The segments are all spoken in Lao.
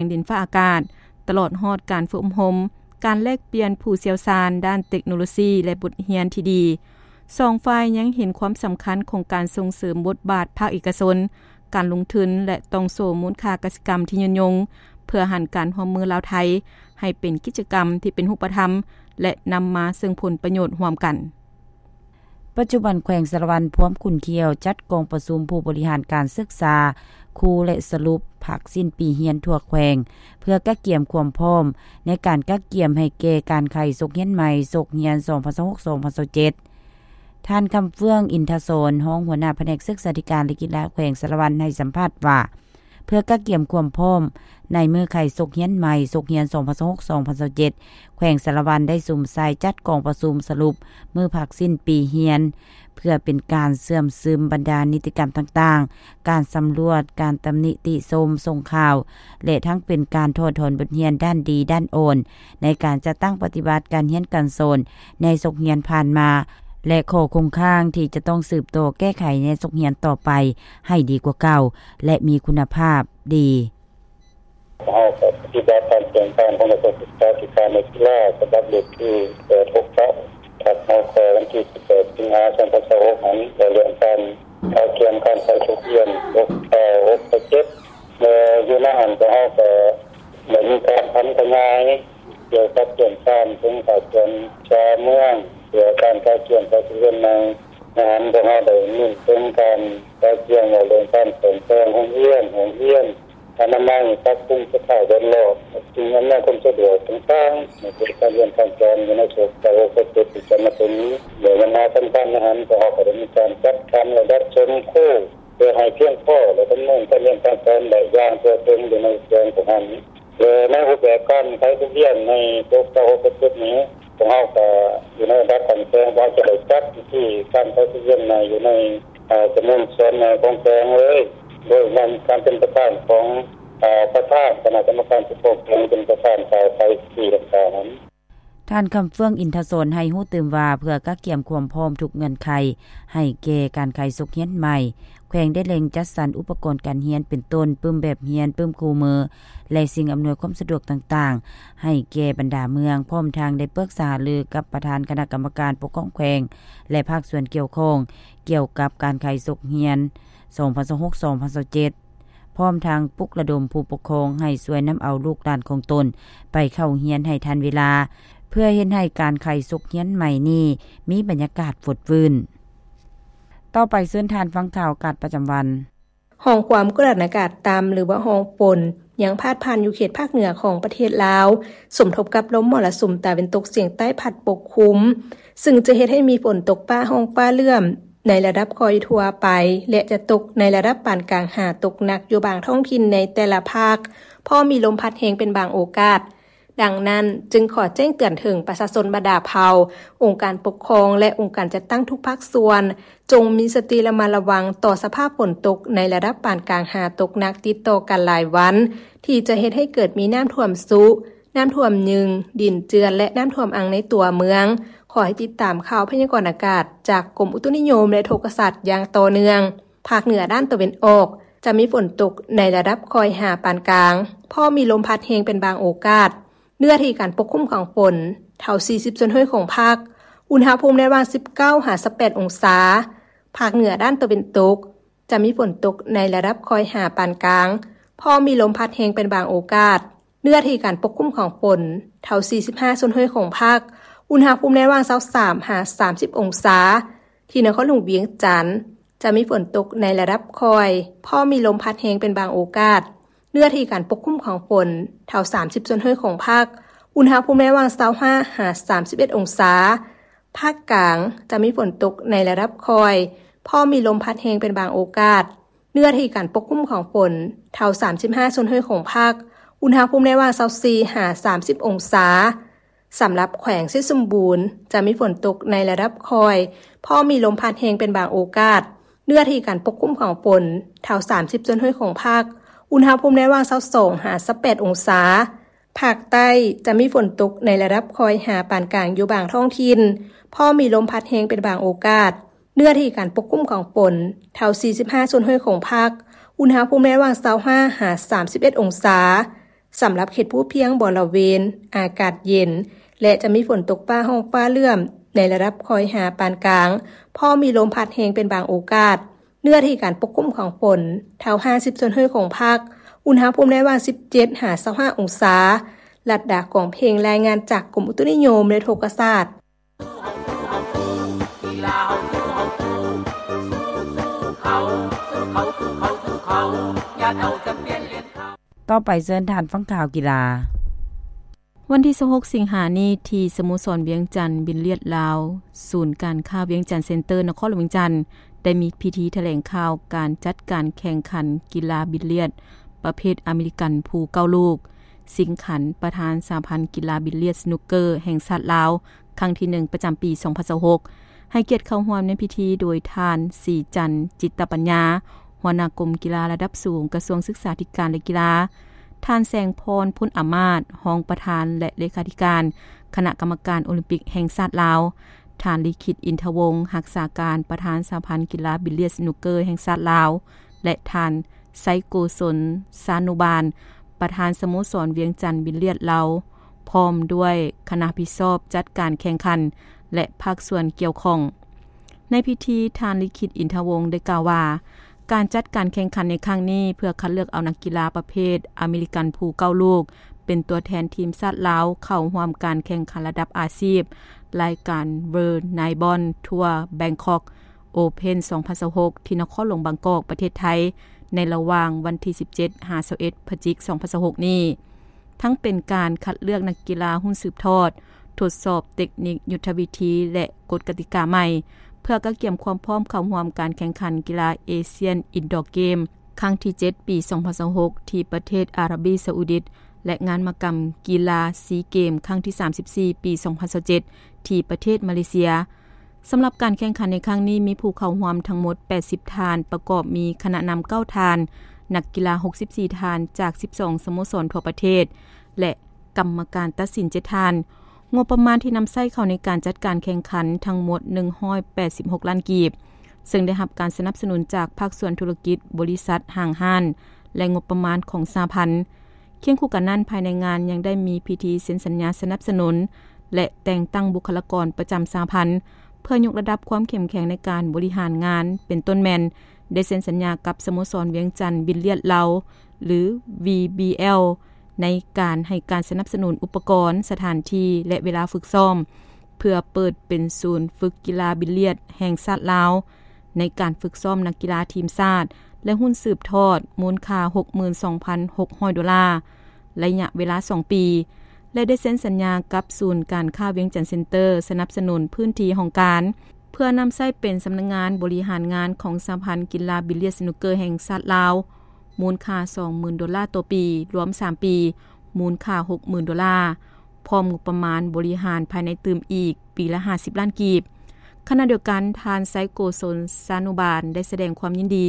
ງດິນຟ້າອາກາດ, ຕະຫຼອດຮອດການຝຶກອົບຮົມ, ການແລກປ່ຽນຜູ້ຊ່ຽວຊານດ້ານເຕັກໂນໂລຊີ ແລະ ບົດຮຽນທີ່ດີ. ສອງຝ່າຍຍັງເຫັນຄວາມສຳຄັນຂອງການສົ່ງເສີມບົດບາດພາກເອກະຊົນ, ການລົງທຶນ ແລະ ຕ່ອງໂສ້ມູນຄ່າກະສິກຳທີ່ຍືນຍົງ, ເພື່ອຫັນການຮ່ວມມືລາວ-ໄທໃຫ້ເປັນກິດຈະກຳທີ່ເປັນຮູບປະທຳ ແລະ ນຳມາເຊິ່ງຜົນປະໂຫຍດຮ່ວມກັນ. ປັດຈຸບັນແຂວງສາລະວັນພວມຂຸນຂຽວຈັດກອງປະຊຸມຜູ້ບໍລິຫານການສຶກສາ, ຄູ ແລະ ສະຫຼຸບພາກສິ້ນປີຮຽນທົ່ວແຂວງ ເພື່ອກະກຽມຄວາມພ້ອມໃນການກະກຽມໃຫ້ແກ່ການໄຂສົກຮຽນໃໝ່ ສົກຮຽນສອງພັນຊາວຫົກ ສອງພັນຊາວເຈັດ. ທ່ານ ຄຳເຟືອງ ອິນທະສອນ ຮອງຫົວໜ້າພະແນກສຶກສາທິການ ແລະ ກິລາແຂວງສາລະວັນໃຫ້ສຳພາດວ່າ ເພື່ອກະກຽມຄວາມພ້ອມໃນມື້ໄຂສົກຮຽນໃໝ່ ສົກຮຽນສອງພັນຊາວຫົກ ສອງພັນຊາວເຈັດ ແຂວງສາລະວັນໄດ້ສຸມໃສ່ຈັດກອງປະຊຸມສະຫຼຸບມື້ພາກສິ້ນປີຮຽນ ເພື່ອເປັນການເຊື່ອມຊຶມບັນດານິຕິກຳຕ່າງໆ, ການສຳຫຼວດ, ການຕຳໜິຕິຊົມ, ສົ່ງຂ່າວ ແລະ ທັງເປັນການຖອດຖອນບົດຮຽນດ້ານດີດ້ານອ່ອນ ໃນການຈັດຕັ້ງປະຕິບັດການຮຽນການສອນໃນສົກຮຽນຜ່ານມາ ແລະ ຂໍ້ຄົງຄ້າງທີ່ຈະຕ້ອງສືບຕໍ່ແກ້ໄຂໃນສົກຮຽນຕໍ່ໄປໃຫ້ດີກວ່າເກົ່າ ແລະ ມີຄຸນນະພາບດີ. ເຮົາກໍປະຕິບັດຕາມແຜນການຂອງກະຊວງສຶກສາທິການ ແລະ ກິລາ ສະບັບເລກທີແປດຫົກເກົ້າ ທັບ ຮ.ຄ. ວັນທີສິບແປດ ສິງຫາ ສອງພັນຊາວຫົກ ຫັ້ນ ວ່າເລື່ອງການກະກຽມການໃສ່ນັກຮຽນ ຫົກເກົ້າ ຫົກເຈັດ ແລະ ຢູ່ໃນຫັ້ນພວກເຮົາກໍໄດ້ມີການຜັນຂະຫຍາຍກ່ຽວກັບເລື່ອງການເຖິງພາກສ່ວນຊາວເມືອງ ເພື່ອການກະກຽມໃສ່ນັກຮຽນໃໝ່. ໃນຫັ້ນພວກເຮົາໄດ້ເນັ້ນເຖິງການກະກຽມເວົ້າເລື່ອງການສ້ອມແປງໂຮງຮຽນ, ຫ້ອງຮຽນ, ອະນາໄມ, ປັບປຸງສະພາບແວດລ້ອມ, ສິ່ງອຳນວຍຄວາມສະດວກຕ່າງໆ ໃຫ້ເກີດການຮຽນການສອນຢູ່ໃນໂສກເກົ້າຫົກເຈັດທີ່ຈະມາເຖິງນີ້. ແລະ ບັນຫາສຳຄັນໃນຫັ້ນ ພວກເຮົາກໍໄດ້ມີການຈັດສັນລະດັບສົມຄູ ເພື່ອໃຫ້ພຽງພໍ ແລະ ດຳເນີນການຮຽນການສອນໄດ້ຢ່າງທົ່ວເຖິງຢູ່ໃນແຂວງພວກເຮົານີ້ ແລະ ໃນຮູບແບບການໄຂບົດຮຽນໃນໂສກເກົ້າຫົກເຈັດນີ້ ພວກເຮົາກໍຢູ່ໃນລະດັບຂັ້ນແຂວງ ພວກເຮົາຈະໄດ້ຈັດພິທີການໄຂບົດຮຽນໃໝ່ຢູ່ໃນ ເອີ່ ຈຳນວນສ່ວນໃຫຍ່ຂອງແຂວງເລີຍ ໂດຍນຳການເປັນປະທານຂອງ ເອີ່ ປະທານຄະນະກຳມະການປົກຄອງແຂວງເປັນປະທານກ່າວໄຂພິທີດັ່ງກ່າວນັ້ນ. ທ່ານ ຄຳເຟືອງ ອິນທະສອນ ໃຫ້ຮູ້ຕື່ມວ່າ ເພື່ອກະກຽມຄວາມພ້ອມທຸກເງື່ອນໄຂໃຫ້ແກ່ການໄຂສົກຮຽນໃໝ່, ແຂວງໄດ້ເລັ່ງຈັດສັນອຸປະກອນການຮຽນ ເປັນຕົ້ນ ປຶ້ມແບບຮຽນ, ປຶ້ມຄູ່ມື ແລະ ສິ່ງອຳນວຍຄວາມສະດວກຕ່າງໆ ໃຫ້ແກ່ບັນດາເມືອງ, ພ້ອມທັງໄດ້ປຶກສາຫາລືກັບປະທານຄະນະກຳມະການປົກຄອງແຂວງ ແລະ ພາກສ່ວນກ່ຽວຂ້ອງ ກ່ຽວກັບການໄຂສົກຮຽນ ສອງພັນຊາວຫົກ ສອງພັນຊາວເຈັດ ພ້ອມທັງປຸກລະດົມຜູ້ປົກຄອງໃຫ້ຊ່ວຍນຳເອົາລູກຫຼານຂອງຕົນໄປເຂົ້າຮຽນໃຫ້ທັນເວລາ ເພື່ອເຮັດໃຫ້ການໄຂສົກຮຽນໃໝ່ນີ້ມີບັນຍາກາດຟົດຟື້ນ. ຕໍ່ໄປເຊີນທ່ານຟັງຂ່າວອາກາດປະຈຳວັນ. ຮ່ອງຄວາມກົດອາກາດຕ່ຳ ຫຼືວ່າຮ່ອງຝົນ ຍັງພາດຜ່ານຢູ່ເຂດພາກເໜືອຂອງປະເທດລາວ, ສົມທົບກັບລົມມໍລະສຸມຕາເວັນຕົກສຽງໃຕ້ພັດປົກຄຸມ, ຊຶ່ງຈະເຮັດໃຫ້ມີຝົນຕົກຟ້າຮ້ອງຟ້າເຫຼື້ອມໃນລະດັບຄ່ອຍທົ່ວໄປ ແລະ ຈະຕົກໃນລະດັບປານກາງຫາຕົກໜັກຢູ່ບາງທ້ອງຖິ່ນໃນແຕ່ລະພາກ, ພ້ອມມີລົມພັດແຮງເປັນບາງໂອກາດ. ດັ່ງນັ້ນ, ຈຶ່ງຂໍແຈ້ງເຕືອນເຖິງປະຊາຊົນບັນດາເຜົ່າ, ອົງການປົກຄອງ ແລະ ອົງການຈັດຕັ້ງທຸກພາກສ່ວນ, ຈົ່ງມີສະຕິລະມັດລະວັງຕໍ່ສະພາບຝົນຕົກໃນລະດັບປານກາງຫາຕົກໜັກຕິດຕໍ່ກັນຫຼາຍວັນ, ທີ່ຈະເຮັດໃຫ້ເກີດມີນ້ຳຖ້ວມຊຸ, ນ້ຳຖ້ວມຍືງ, ດິນເຈື່ອນ ແລະ ນ້ຳຖ້ວມອັ່ງໃນຕົວເມືອງ. ຂໍໃຫ້ຕິດຕາມຂ່າວພະຍາກອນອາກາດຈາກກົມອຸຕຸນິຍົມ ແລະ ອຸທົກກະສາດຢ່າງຕໍ່ເນື່ອງ. ພາກເໜືອດ້ານຕາເວັນອອກ ຈະມີຝົນຕົກໃນລະດັບຄ່ອຍຫາປານກາງ, ພ້ອມມີລົມພັດແຮງເປັນບາງໂອກາດ. ເນື້ອທີ່ການປົກຄຸມຂອງຝົນ ເທົ່າ ສີ່ສິບສ່ວນຮ້ອຍຂອງພາກ, ອຸນຫະພູມໃນລະຫວ່າງ ສິບເກົ້າ ຫາ ຊາວແປດ ອົງສາ. ພາກເໜືອດ້ານຕາເວັນຕົກ ຈະມີຝົນຕົກໃນລະດັບຄ່ອຍຫາປານກາງ, ພ້ອມມີລົມພັດແຮງເປັນບາງໂອກາດ. ເນື້ອທີ່ການປົກຄຸມຂອງຝົນ ເທົ່າ ສີ່ສິບຫ້າສ່ວນຮ້ອຍຂອງພາກ, ອຸນຫະພູມໃນລະຫວ່າງ ຊາວສາມ ຫາ ສາມສິບ ອົງສາ. ທີ່ນະຄອນຫຼວງວຽງຈັນ ຈະມີຝົນຕົກໃນລະດັບຄ່ອຍ, ພ້ອມມີລົມພັດແຮງເປັນບາງໂອກາດ. ເນື້ອທີ່ການປົກຄຸມຂອງຝົນ ເທົ່າ ສາມສິບສ່ວນຮ້ອຍຂອງພາກ, ອຸນຫະພູມໃນລະຫວ່າງ ຊາວຫ້າ ຫາ ສາມສິບເອັດ ອົງສາ. ພາກກາງ ຈະມີຝົນຕົກໃນລະດັບຄ່ອຍ, ພ້ອມມີລົມພັດແຮງເປັນບາງໂອກາດ. ເນື້ອທີ່ການປົກຄຸມຂອງຝົນ ເທົ່າ ສາມສິບຫ້າສ່ວນຮ້ອຍຂອງພາກ, ອຸນຫະພູມໃນລະຫວ່າງ ຊາວສີ່ ຫາ ສາມສິບ ອົງສາ. ສຳລັບແຂວງໄຊສົມບູນ ຈະມີຝົນຕົກໃນລະດັບຄ່ອຍ, ພ້ອມມີລົມພັດແຮງເປັນບາງໂອກາດ. ເນື້ອທີ່ການປົກຄຸມຂອງຝົນ ເທົ່າ ສາມສິບສ່ວນຮ້ອຍຂອງພາກ, ອຸນຫະພູມໃນລະຫວ່າງ ຊາວສອງ ຫາ ຊາວແປດ ອົງສາ. ພາກໃຕ້ ຈະມີຝົນຕົກໃນລະດັບຄ່ອຍຫາປານກາງຢູ່ບາງທ້ອງຖິ່ນ, ພ້ອມມີລົມພັດແຮງເປັນບາງໂອກາດ. ເນື້ອທີ່ການປົກຄຸມຂອງຝົນ ເທົ່າ ສີ່ສິບຫ້າສ່ວນຮ້ອຍຂອງພາກ, ອຸນຫະພູມໃນລະຫວ່າງ ຊາວຫ້າ ຫາ ສາມສິບເອັດ ອົງສາ. ສຳລັບເຂດພູພຽງບໍລະເວນ ອາກາດເຢັນ ແລະ ຈະມີຝົນຕົກຟ້າຮ້ອງຟ້າເຫຼື້ອມ ໃນລະດັບຄ່ອຍຫາປານກາງ, ພ້ອມມີລົມພັດແຮງເປັນບາງໂອກາດ. ເນື້ອທີ່ການປົກຄຸມຂອງຝົນ ເທົ່າຫ້າສິບສ່ວນຮ້ອຍຂອງພາກ, ອຸນຫະພູມໃນລະຫວ່າງສິບເຈັດຫາຊາວຫ້າອົງສາ. ລັດດາ ກອງເພັງ ລາຍງານຈາກກົມອຸຕຸນິຍົມ ແລະ ອຸທົກກະສາດ. ຕໍ່ໄປເຊີນທ່ານຟັງຂ່າວກິລາ. ວັນທີຊາວຫົກສິງຫານີ້ ທີ່ສະໂມສອນວຽງຈັນບິລລຽດລາວ, ສູນການຄ້າວຽງຈັນເຊັນເຕີ ນະຄອນຫຼວງວຽງຈັນ ໄດ້ມີພິທີຖະແຫຼງຂ່າວການຈັດການແຂ່ງຂັນກິລາບິລລຽດ ປະເພດອາເມລິກັນພູເກົ້າລູກ ຊິງຂັນປະທານສະຫະພັນກິລາບິລລຽດສະໜຸກເກີແຫ່ງຊາດລາວ ຄັ້ງທີໜຶ່ງ ປະຈຳປີສອງພັນຊາວຫົກ ໃຫ້ກຽດເຂົ້າຮ່ວມໃນພິທີໂດຍທ່ານ ສີຈັນ ຈິດຕະປັນຍາ ຫົວໜ້າກົມກິລາລະດັບສູງ ກະຊວງສຶກສາທິການ ແລະ ກິລາ, ທ່ານ ແສງພອນ ພົນອາມາດ ຮອງປະທານ ແລະ ເລຂາທິການຄະນະກຳມະການໂອລິມປິກແຫ່ງຊາດລາວ, ທ່ານ ລິຂິດ ອິນທະວົງ ຮັກສາການປະທານສະຫະພັນກິລາບິລລຽດສະໜຸກເກີແຫ່ງຊາດລາວ ແລະ ທ່ານ ໄຊໂກສົນ ຊານຸບານ ປະທານສະໂມສອນວຽງຈັນບິລລຽດລາວ ພ້ອມດ້ວຍຄະນະຮັບຜິດຊອບຈັດການແຂ່ງຂັນ ແລະ ພາກສ່ວນກ່ຽວຂ້ອງ. ໃນພິທີ, ທ່ານ ລິຂິດ ອິນທະວົງ ໄດ້ກ່າວວ່າ ການຈັດການແຂ່ງຂັນໃນຄັ້ງນີ້ ເພື່ອຄັດເລືອກເອົານັກກິລາປະເພດອາເມລິກັນພູເກົ້າລູກ ເປັນຕົວແທນທີມຊາດລາວເຂົ້າຮ່ວມການແຂ່ງຂັນລະດັບອາຊີບ ລາຍການ World Nine Ball Tour Bangkok Open ສອງພັນຊາວຫົກ ທີ່ນະຄອນຫຼວງບາງກອກ ປະເທດໄທ ໃນລະຫວ່າງວັນທີສິບເຈັດຫາຊາວເອັດ ພະຈິກ ສອງພັນຊາວຫົກນີ້. ທັງເປັນການຄັດເລືອກນັກກິລາຮຸ່ນສືບທອດ, ທົດສອບເຕັກນິກ, ຍຸດທະວິທີ ແລະ ກົດກະຕິກາໃໝ່ ເພື່ອກະກຽມຄວາມພ້ອມເຂົ້າຮ່ວມການແຂ່ງຂັນກິລາເອຊຽນອິນດໍເກມ ຄັ້ງທີເຈັດ ປີສອງພັນຊາວຫົກ ທີ່ປະເທດອາຣາບີຊາອຸດິດ ແລະ ງານມະກຳກິລາຊີເກມ ຄັ້ງທີສາມສິບສີ່ ປີສອງພັນຊາວເຈັດ ທີ່ປະເທດມາເລເຊຍ. ສຳລັບການແຂ່ງຂັນໃນຄັ້ງນີ້ ມີຜູ້ເຂົ້າຮ່ວມທັງໝົດແປດສິບທ່ານ, ປະກອບມີຄະນະນຳເກົ້າທ່ານ, ນັກກິລາຫົກສິບສີ່ທ່ານ ຈາກສິບສອງສະໂມສອນທົ່ວປະເທດ ແລະ ກຳມະການຕັດສິນເຈັດທ່ານ. ງົບປະມານທີ່ນຳໃຊ້ເຂົ້າໃນການຈັດການແຂ່ງຂັນທັງໝົດໜຶ່ງຮ້ອຍແປດສິບຫົກລ້ານກີບ, ເຊິ່ງໄດ້ຮັບການສະໜັບສະໜູນຈາກພາກສ່ວນທຸລະກິດ, ບໍລິສັດ, ຫ້າງຮ້ານ ແລະ ງົບປະມານຂອງສະຫະພັນ. ຄຽງຄູ່ກັນນັ້ນ, ພາຍໃນງານຍັງໄດ້ມີພິທີເຊັນສັນຍາສະໜັບສະໜູນ ແລະ ແຕ່ງຕັ້ງບຸກຄະລາກອນປະຈຳສະຫະພັນ ເພື່ອຍົກລະດັບຄວາມເຂັ້ມແຂງໃນການບໍລິຫານງານ, ເປັນຕົ້ນແມ່ນ ໄດ້ເຊັນສັນຍາກັບສະໂມສອນວຽງຈັນບິລລຽດລາວ ຫຼື ວີບີແອລ ໃນການໃຫ້ການສະໜັບສະໜູນອຸປະກອນ, ສະຖານທີ່ ແລະ ເວລາຝຶກຊ້ອມ ເພື່ອເປີດເປັນສູນຝຶກກິລາບິລລຽດແຫ່ງຊາດລາວ ໃນການຝຶກຊ້ອມນັກກິລາທີມຊາດ ແລະ ຮຸ່ນສືບທອດ ມູນຄ່າຫົກໝື່ນສອງພັນຫົກຮ້ອຍໂດລາ ໄລຍະເວລາສອງປີ ແລະ ໄດ້ເຊັນສັນຍາກັບສູນການຄ້າວຽງຈັນເຊັນເຕີ ສະໜັບສະໜູນພື້ນທີ່ຫ້ອງການ ເພື່ອນຳໃຊ້ເປັນສຳນັກງານບໍລິຫານງານຂອງສະຫະພັນກິລາບິລລຽດສະໜຸກເກີແຫ່ງຊາດລາວ ມູນຄ່າສອງໝື່ນໂດລາຕໍ່ປີ, ລວມສາມປີ ມູນຄ່າຫົກໝື່ນໂດລາ, ພ້ອມງົບປະມານບໍລິຫານພາຍໃນຕື່ມອີກປີລະຫ້າສິບລ້ານກີບ. ຂະນະດຽວກັນ, ທ່ານ ໄຊໂກສົນ ຊານຸບານ ໄດ້ສະແດງຄວາມຍິນດີ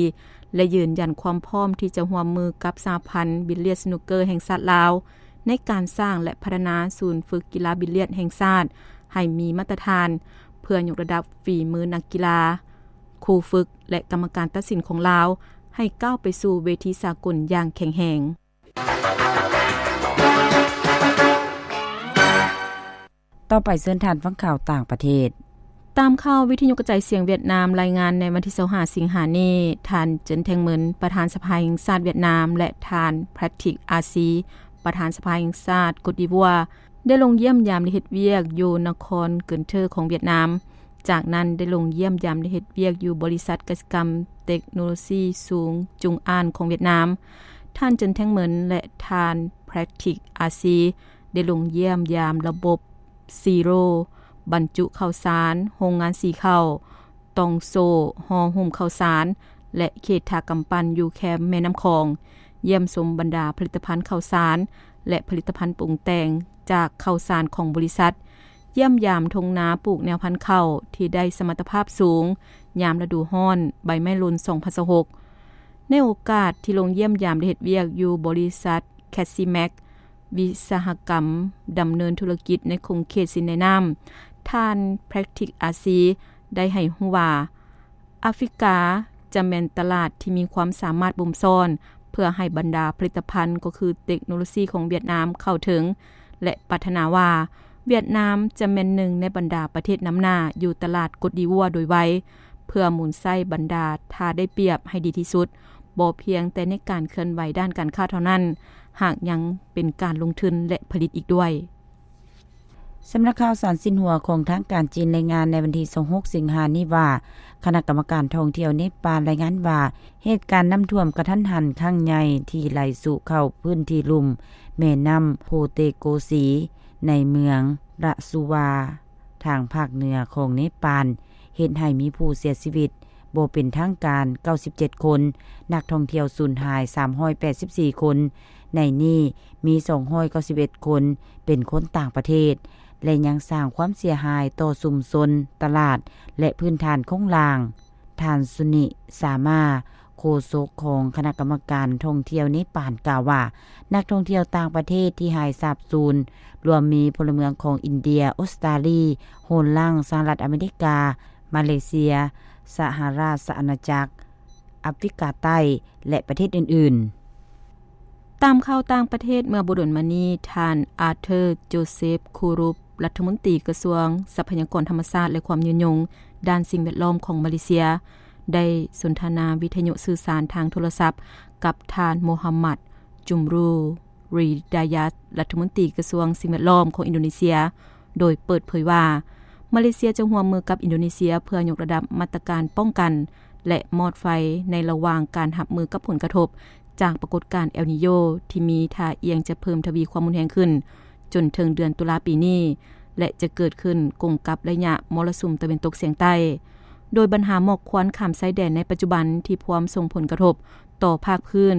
ແລະ ຢືນຢັນຄວາມພ້ອມທີ່ຈະຮ່ວມມືກັບສະຫະພັນບິລລຽດສະໜຸກເກີແຫ່ງຊາດລາວ ໃນການສ້າງ ແລະ ພັດທະນາສູນຝຶກກິລາບິລລຽດແຫ່ງຊາດໃຫ້ມີມາດຕະຖານ ເພື່ອຍົກລະດັບຝີມືນັກກິລາ, ຄູຝຶກ ແລະ ກຳມະການຕັດສິນຂອງລາວ ໃຫ້ກ້າວໄປສູ່ເວທີສາກົນຢ່າງແຂງແຮງ. ຕໍ່ໄປເຊີນທ່ານຟັງຂ່າວຕ່າງປະເທດ. ຕາມຂ່າວວິທະຍຸກະຈາຍສຽງຫວຽດນາມລາຍງານໃນວັນທີຊາວຫ້າສິງຫານີ້, ທ່ານ ເຈິນ ແທງເໝິນ ປະທານສະພາແຫ່ງຊາດຫວຽດນາມ ແລະ ທ່ານ ແພຣດທິກ ອາຊີ ປະທານສະພາແຫ່ງຊາດກົດດີໂວວາ ໄດ້ລົງຢ້ຽມຢາມ ແລະ ເຮັດວຽກຢູ່ນະຄອນເກີນເທີຂອງຫວຽດນາມ. ຈາກນັ້ນໄດ້ລົງຢ້ຽມຢາມ ແລະ ເຮັດວຽກຢູ່ບໍລິສັດກະສິກຳເຕັກໂນໂລຊີສູງຈຸງອານຂອງຫວຽດນາມ. ທ່ານ ເຈິນ ແທງເໝິນ ແລະ ທ່ານ ແພຣດທິກ ອາຊີ ໄດ້ລົງຢ້ຽມຢາມລະບົບ ຊີໂຣ ບັນຈຸເຂົ້າສານ, ໂຮງງານສີເຂົ້າ, ຕ່ອງໂສ້ຫໍ່ຫຸ້ມເຂົ້າສານ ແລະ ເຂດທ່າກຳປັ່ນຢູ່ແຄມແມ່ນ້ຳຂອງ, ຢ້ຽມຊົມບັນດາຜະລິດຕະພັນເຂົ້າສານ ແລະ ຜະລິດຕະພັນປຸງແຕ່ງຈາກເຂົ້າສານຂອງບໍລິສັດ, ຢ້ຽມຢາມທົ່ງນາປູກແນວພັນເຂົ້າທີ່ໄດ້ສະມັດຕະພາບສູງຍາມລະດູຮ້ອນ ໃບໄມ້ຫຼົ່ນ ສອງພັນຊາວຫົກ. ໃນໂອກາດທີ່ລົງຢ້ຽມຢາມ ແລະ ເຮັດວຽກຢູ່ບໍລິສັດ ແຄດຊີແມັກ ວິສາຫະກຳດຳເນີນທຸລະກິດໃນຂົງເຂດສິນໃນນ້ຳ, ທ່ານ ແພຣດທິກ ອາຊີ ໄດ້ໃຫ້ຮູ້ວ່າ ອາຟຣິກາຈະແມ່ນຕະຫຼາດທີ່ມີຄວາມສາມາດບົ່ມຊ້ອນ ເພື່ອໃຫ້ບັນດາຜະລິດຕະພັນ ກໍຄືເຕັກໂນໂລຊີຂອງຫວຽດນາມເຂົ້າເຖິງ ແລະ ປາດຖະໜາວ່າ ຫວຽດນາມຈະແມ່ນໜຶ່ງໃນບັນດາປະເທດນຳໜ້າຢູ່ຕະຫຼາດກົດດີວັວໂດຍໄວ ເພື່ອໝູນໃຊ້ບັນດາທ່າໄດ້ປຽບໃຫ້ດີທີ່ສຸດ, ບໍ່ພຽງແຕ່ໃນການເຄື່ອນໄຫວດ້ານການຄ້າເທົ່ານັ້ນ, ຫາກຍັງເປັນການລົງທຶນ ແລະ ຜະລິດອີກດ້ວຍ. ສຳນັກຂ່າວສານຊິນຫົວຂອງທາງການຈີນລາຍງານໃນວັນທີຊາວຫົກ ສິງຫານີ້ວ່າ ຄະນະກຳມະການທ່ອງທ່ຽວເນປານລາຍງານວ່າ ເຫດການນ້ຳຖ້ວມກະທັນຫັນຄັ້ງໃຫຍ່ທີ່ໄຫຼສູ່ເຂົ້າພື້ນທີ່ລຸ່ມແມ່ນ້ຳໂພເຕໂກສີ ໃນເມືອງລະສຸວາ ທາງພາກເໜືອຂອງເນປານ ເຮັດໃຫ້ມີຜູ້ເສຍຊີວິດບໍ່ເປັນທາງການເກົ້າສິບເຈັດຄົນ, ນັກທ່ອງທ່ຽວສູນຫາຍສາມຮ້ອຍແປດສິບສີ່ຄົນ, ໃນນີ້ມີສອງຮ້ອຍເກົ້າສິບເອັດຄົນເປັນຄົນຕ່າງປະເທດ ແລະ ຍັງສ້າງຄວາມເສຍຫາຍຕໍ່ຊຸມຊົນ, ຕະຫຼາດ ແລະ ພື້ນຖານໂຄງລ່າງ. ທ່ານ ສຸນິ ສາມາ ໂຄສົກຂອງຄະນະກຳມະການທ່ອງທ່ຽວເນປານ ກ່າວວ່າ ນັກທ່ອງທ່ຽວຕ່າງປະເທດທີ່ຫາຍສາບສູນ ລວມມີພົນລະເມືອງຂອງອິນເດຍ, ອົດສະຕາລີ, ໂຮນລັງ, ສະຫະລັດອາເມລິກາ, ມາເລເຊຍ, ສະຫະລາຊະອານາຈັກ, ອາຟຣິກາໃຕ້ ແລະ ປະເທດອື່ນໆ. ຕາມຂ່າວຕ່າງປະເທດເມື່ອບໍ່ດົນມານີ້, ທ່ານ ອາເທີ ໂຈເຊບ ຄູຣູບ ລັດຖະມົນຕີກະຊວງຊັບພະຍາກອນທຳມະຊາດ ແລະ ຄວາມຍືນຍົງດ້ານສິ່ງແວດລ້ອມຂອງມາເລເຊຍ ໄດ້ສົນທະນາວິທະຍຸສື່ສານທາງໂທລະສັບກັບທ່ານ ໂມຮຳມັດ ຈຸມຣູ ຣີ ດາຍັດ ລັດຖະມົນຕີກະຊວງສິ່ງແວດລ້ອມຂອງອິນໂດເນເຊຍ ໂດຍເປີດເຜີຍວ່າ ມາເລເຊຍຈະຮ່ວມມືກັບອິນໂດເນເຊຍເພື່ອຍົກລະດັບມາດຕະການປ້ອງກັນ ແລະ ມອດໄຟໃນລະຫວ່າງການຮັບມືກັບຜົນກະທົບຈາກປາກົດການເອລນີໂຍ ທີ່ມີທ່າອ່ຽງຈະເພີ່ມທະວີຄວາມຮຸນແຮງຂຶ້ນ ຈົນເຖິງເດືອນຕຸລາປີນີ້ ແລະ ຈະເກີດຂຶ້ນກົງກັບໄລຍະມໍລະສຸມຕາເວັນຕົກສຽງໃຕ້, ໂດຍບັນຫາໝອກຄວັນຂ້າມຊາຍແດນໃນປັດຈຸບັນທີ່ພວມສົ່ງຜົນກະທົບຕໍ່ພາກພື້ນ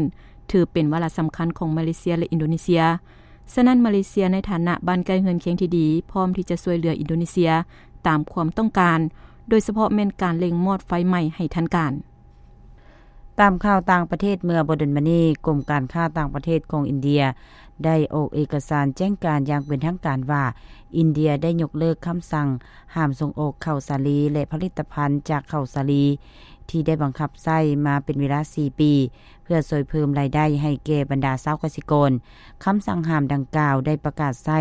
ຖືເປັນວາລະສຳຄັນຂອງມາເລເຊຍ ແລະ ອິນໂດເນເຊຍ. ສະນັ້ນ ມາເລເຊຍໃນຖານະບ້ານໃກ້ເຮືອນຄຽງທີ່ດີ ພ້ອມທີ່ຈະຊ່ວຍເຫຼືອອິນໂດເນເຊຍຕາມຄວາມຕ້ອງການ, ໂດຍສະເພາະແມ່ນການເລັ່ງມອດໄຟໃໝ່ໃຫ້ທັນການ. ຕາມຂ່າວຕ່າງປະເທດເມື່ອບໍ່ດົນມານີ້, ກົມການຄ້າຕ່າງປະເທດຂອງອິນເດຍໄດ້ອອກເອກະສານແຈ້ງການຢ່າງເປັນທາງການວ່າ ອິນເດຍໄດ້ຍົກເລີກຄຳສັ່ງຫ້າມສົ່ງອອກເຂົ້າສາລີ ແລະ ຜະລິດຕະພັນຈາກເຂົ້າສາລີ ທີ່ໄດ້ບັງຄັບໃຊ້ມາເປັນເວລາສີ່ປີ ເພື່ອຊ່ວຍເພີ່ມລາຍໄດ້ໃຫ້ແກ່ບັນດາຊາວກະສິກອນ. ຄຳສັ່ງຫ້າມດັ່ງກ່າວໄດ້ປະກາດໃຊ້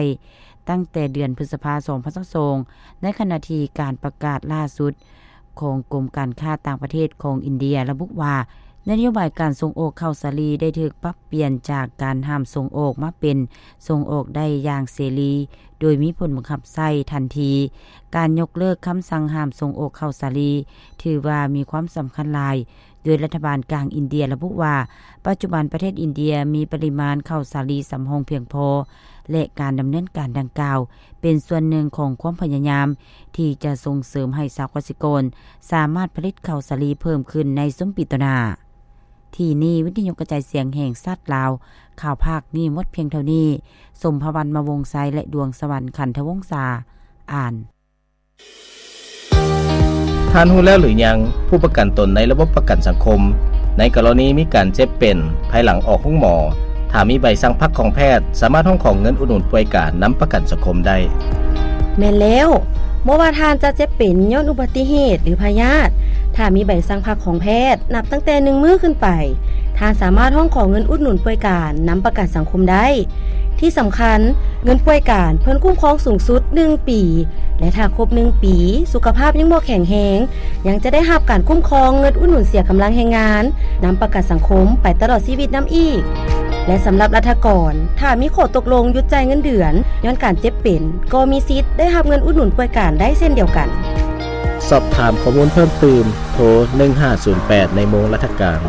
ຕັ້ງແຕ່ເດືອນພຶດສະພາ ສອງພັນຊາວສອງ ໃນຂະນະທີ່ການປະກາດລ່າສຸດຂອງກົມການຄ້າຕ່າງປະເທດຂອງອິນເດຍລະບຸວ່າ ນະໂຍບາຍການສົ່ງອອກເຂົ້າສາລີໄດ້ຖືກປັບປ່ຽນຈາກການຫ້າມສົ່ງອອກມາເປັນສົ່ງອອກໄດ້ຢ່າງເສລີ ໂດຍມີຜົນບັງຄັບໃຊ້ທັນທີ. ການຍົກເລີກຄຳສັ່ງຫ້າມສົ່ງອອກເຂົ້າສາລີ ຖືວ່າມີຄວາມສຳຄັນຫຼາຍ ໂດຍລັດຖະບານກາງອິນເດຍລະບຸວ່າ ປັດຈຸບັນປະເທດອິນເດຍມີປະລິມານເຂົ້າສາລີສຳຮອງພຽງພໍ ແລະ ການດຳເນີນການດັ່ງກ່າວ ເປັນສ່ວນໜຶ່ງຂອງຄວາມພະຍາຍາມທີ່ຈະສົ່ງເສີມໃຫ້ຊາວກະສິກອນສາມາດຜະລິດເຂົ້າສາລີເພີ່ມຂຶ້ນໃນຊຸມປີຕໍ່ໜ້າ. ທີ່ນີ້ ວິທະຍຸກະຈາຍສຽງແຫ່ງຊາດລາວ ຂ່າວພາກມີໝົດພຽງເທົ່ານີ້. ສົມພະວັນ ມະວົງໄຊ ແລະ ດວງສະຫວັນ ຂັນທະວົງສາ ອ່ານ. ທ່ານຮູ້ແລ້ວຫຼືຍັງ ຜູ້ປະກັນຕົນໃນລະບົບປະກັນສັງຄົມ ໃນກໍລະນີມີການເຈັບເປັນພາຍຫຼັງອອກໂຮງໝໍ, ຖ້າມີໃບສັ່ງພັກຂອງແພດ ສາມາດຮ້ອງຂໍເງິນອຸດໜູນປ່ວຍການນຳປະກັນສັງຄົມໄດ້. ແມ່ນແລ້ວ, ບໍ່ວ່າທ່ານຈະເຈັບເປັນຍ້ອນອຸບັດຕິເຫດ ຫຼື ພະຍາດ, ຖ້າມີໃບສັ່ງພັກຂອງແພດ ນັບຕັ້ງແຕ່ໜຶ່ງມື້ຂຶ້ນໄປ, ທ່ານສາມາດຮ້ອງຂໍເງິນອຸດໜູນປ່ວຍການນຳປະກັນສັງຄົມໄດ້. ທີ່ສຳຄັນ, ເງິນປ່ວຍການເພິ່ນຄຸ້ມຄອງສູງສຸດໜຶ່ງປີ ແລະ ຖ້າຄົບໜຶ່ງປີ ສຸຂະພາບຍັງບໍ່ແຂງແຮງ, ຍັງຈະໄດ້ຮັບການຄຸ້ມຄອງເງິນອຸດໜູນເສຍກຳລັງແຮງງານ ນຳປະກັນສັງຄົມໄປຕະຫຼອດຊີວິດນຳອີກ. ແລະ ສຳລັບລັດຖະກອນ, ຖ້າມີຂໍ້ຕົກລົງຢຸດຈ່າຍເງິນເດືອນຍ້ອນການເຈັບເປັນ, ກໍມີສິດໄດ້ຮັບເງິນອຸດໜູນປ່ວຍການໄດ້ເຊັ່ນດຽວກັນ. ສອບຖາມຂໍ້ມູນເພີ່ມຕື່ມ, ໂທ ໜຶ່ງຫ້າສູນແປດ ໃນໂມງລັດຖະການ.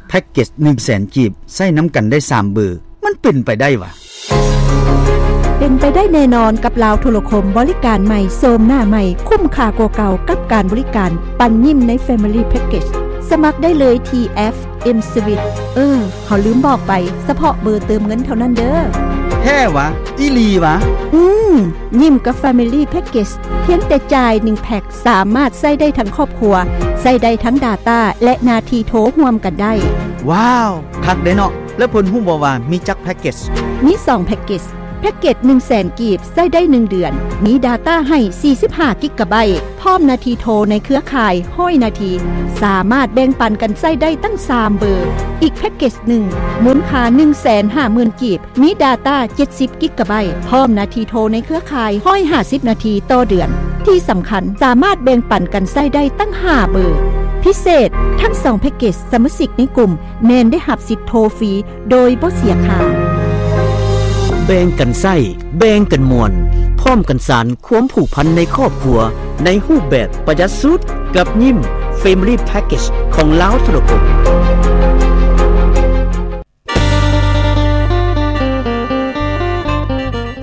ແພັກເກັດໜຶ່ງແສນກີບ ໃຊ້ນຳກັນໄດ້ສາມເບີ ມັນເປັນໄປໄດ້ຫວາ? ເປັນໄປໄດ້ແນ່ນອນກັບລາວໂທລະຄົມບໍລິການໃໝ່ ໂສມໜ້າໃໝ່ ຄຸ້ມຄ່າກວ່າເກົ່າກັບການບໍລິການ ປັນຍິ້ມໃນ Family Package. ສະໝັກໄດ້ເລີຍທີ່ແອັບ M-Swiss. ເອີ ເຮົາລືມບອກໄປ, ສະເພາະເບີເຕີມເງິນເທົ່ານັ້ນເດີ້. ແທ້ຫວາ? ອີ່ຫຼີຫວາ? ອືມ, ຍິ້ມກັບ Family Package ພຽງແຕ່ຈ່າຍໜຶ່ງແພັກ ສາມາດໃຊ້ໄດ້ທັງຄອບຄົວ, ໃຊ້ໄດ້ທັງ data ແລະ ໜ້າທີ່ໂທຮ່ວມກັນໄດ້. ວ້າວ! ຄັກເດ້ເນາະ. ແລ້ວເພິ່ນຮູ້ບໍ່ວ່າມີຈັກແພັກເກັດ? ມີສອງແພັກເກັດ. ແພັກເກັດໜຶ່ງແສນກີບ ໃຊ້ໄດ້ໜຶ່ງເດືອນ, ມີດາຕ້າໃຫ້ສີ່ສິບຫ້າກິກກະໄບ, ພ້ອມນາທີໂທໃນເຄືອຂ່າຍຮ້ອຍນາທີ, ສາມາດແບ່ງປັນກັນໃຊ້ໄດ້ຕັ້ງສາມເບີ. ອີກແພັກເກັດໜຶ່ງ ມູນຄ່າໜຶ່ງແສນຫ້າໝື່ນກີບ, ມີດາຕ້າເຈັດສິບກິກກະໄບ, ພ້ອມນາທີໂທໃນເຄືອຂ່າຍຮ້ອຍຫ້າສິບນາທີຕໍ່ເດືອນ. ທີ່ສຳຄັນ, ສາມາດແບ່ງປັນກັນໃຊ້ໄດ້ຕັ້ງຫ້າເບີ. ພິເສດ, ທັງສອງແພັກເກັດສະມາຊິກໃນກຸ່ມແມ່ນໄດ້ຮັບສິດໂທຟຣີໂດຍບໍ່ເສຍຄ່າ. ແບ່ງກັນໃຊ້, ແບ່ງກັນມ່ວນ, ພ້ອມກັນສານຄວາມຜູກພັນໃນຄອບຄົວ ໃນຮູບແບບປະຢັດສຸດ ກັບຍິ້ມ Family Package ຂອງລາວໂທລະຄົມ.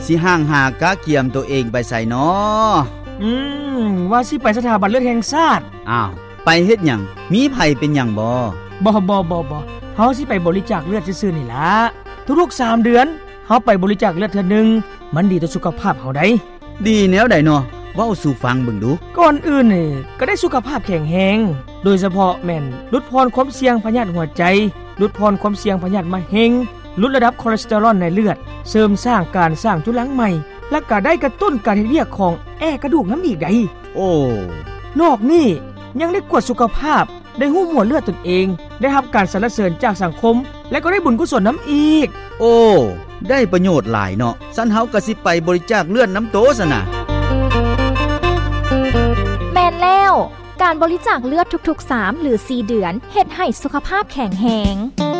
ຊິຫ່າງຫາກະກຽມໂຕເອງໄປໃສນໍ? ອືມ ວ່າຊິໄປສະຖາບັນເລືອດແຫ່ງຊາດ. ອ້າວ ໄປເຮັດຫຍັງ? ມີໃຜເປັນຫຍັງບໍ? ບໍ່ ບໍ່ ບໍ່ ບໍ່ ເຮົາຊິໄປບໍລິຈາກເລືອດຊື່ໆນີ້ລະ. ທຸກໆສາມເດືອນ ເຮົາໄປບໍລິຈາກເລືອດເທື່ອໜຶ່ງ ມັນດີຕໍ່ສຸຂະພາບເຮົາໃດ໋. ດີແນວໃດນໍ? ເວົ້າສູ່ຟັງເບິ່ງດູ. ກ່ອນອື່ນນີ້ ກະໄດ້ສຸຂະພາບແຂງແຮງ, ໂດຍສະເພາະແມ່ນຫຼຸດຜ່ອນຄວາມສ່ຽງພະຍາດຫົວໃຈ, ຫຼຸດຜ່ອນຄວາມສ່ຽງພະຍາດມະເຮັງ, ຫຼຸດລະດັບຄໍເລສເຕີຣອນໃນເລືອດ, ເສີມສ້າງການສ້າງຈຸລັງໃໝ່ ແລະ ກະໄດ້ກະຕຸ້ນການເຮັດວຽກຂອງແອກະດູກນຳອີກໃດ໋. ໂອ້ ນອກນີ້ຍັງໄດ້ກວດສຸຂະພາບ, ໄດ້ຮູ້ໝວດເລືອດຕົນເອງ, ໄດ້ຮັບການສັນລະເສີນຈາກສັງຄົມ ແລະ ກໍໄດ້ບຸນກຸສົນນຳອີກ. ໂອ້ ໄດ້ປະໂຫຍດຫຼາຍເນາະ. ຊັ້ນເຮົາກະຊິໄປບໍລິຈາກເລືອດນຳໂຕຊັ້ນນະ. ແມ່ນແລ້ວ, ການບໍລິຈາກເລືອດທຸກໆສາມ ຫຼື ສີ່ເດືອນ ເຮັດໃຫ້ສຸຂະພາບແຂງແຮງ.